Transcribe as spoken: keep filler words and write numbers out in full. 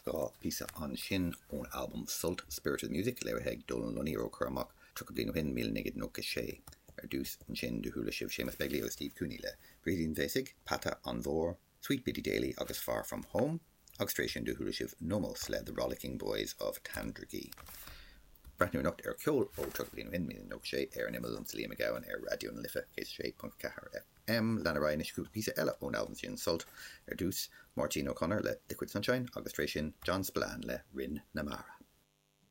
Dhá phíosa ansin ón albam Sult Spirit of the Music léirithe ag Dónal Lunny a cuireadh amach tríocha bliain ó shin míle naoi gcéad nócha sé. Ar dtús ansin do chuala sibh Séamus Begley agus Steve Cooney le Brídín Bhéasaigh, Peata an Mhór, Sweet Biddy Daly agus Far From Home, agus tar éis sin do chuala sibh Nomos le The Rollicking Boys of Tandragee. Breathnú anocht ar ceol ó tríocha bliain ó shin míle nócha sé ar an imeall liomsa Liam Mac Gabhann ar Raidió na Life céad sé ponc ceathair FM lean ar aghaidh cúpla píosa eile ón albam sin Sult ar dtús Máirtín O'Connor le Liquid Sunshine agus tar éis sin John Spillane le Rinn na Mara.